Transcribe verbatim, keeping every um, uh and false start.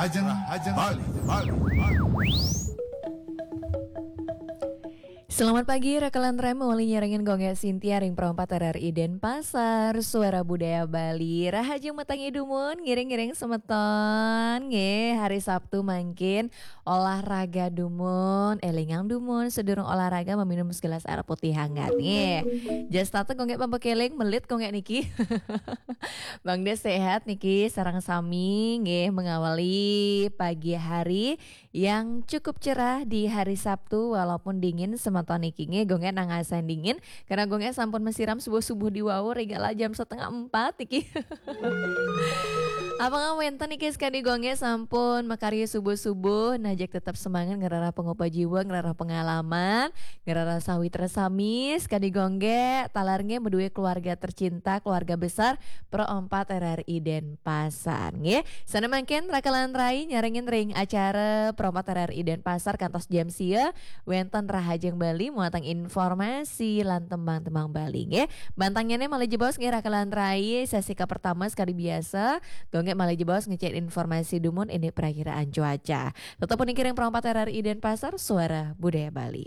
Rahajeng, Rahajeng Bali, Bali, Bali. Selamat pagi, Raka lan Rai, mawali nyarengin Gung Gek Sintia ring Pro empat R R I Denpasar, Suara Budaya Bali. Rahajeng matengi dumun, ngiring-ngiring semeton, nggih, hari Sabtu mangkin olahraga dumun, élingang dumun, sadurung olahraga maminum segelas air putih hangat, nggih. Jas tata Gung Gek pamekeling, melit Gung Gek niki. Bang Des sehat niki, sareng sami, nggih, mengawali pagi hari yang cukup cerah di hari Sabtu, walaupun dingin semeton niki, nggih, Gung Gek nangasan dingin, karena Gung Gek sampun masiram subuh-subuh di wau, ring kala jam setengah empat niki. Apang wénten niki sakadi Gung Gek sampun makarya subuh-subuh, nah, jag tetep semangat, ngrereh pangupa jiwa, ngrereh pengalaman, ngrereh sawitra sami, sakadi Gung Gek, taler nggih madué keluarga tercinta, keluarga besar Pro empat R R I Denpasar, nggih. Sané mangkin Raka lan Rai nyarengin ring acara Pro empat R R I Denpasar kantos jam sia, wénten Rahajeng Bali, muatan informasi lan tembang-tembang Bali, nggih. Bantangnyané malih jebos, nggih, Raka lan Rai, sesi kapertama sakadi biasa, Gung Gek malih jebos ngecek informasi dumun indik perakiraan cuaca. Tetep puniki ring Pro empat R R I Denpasar, Suara Budaya Bali.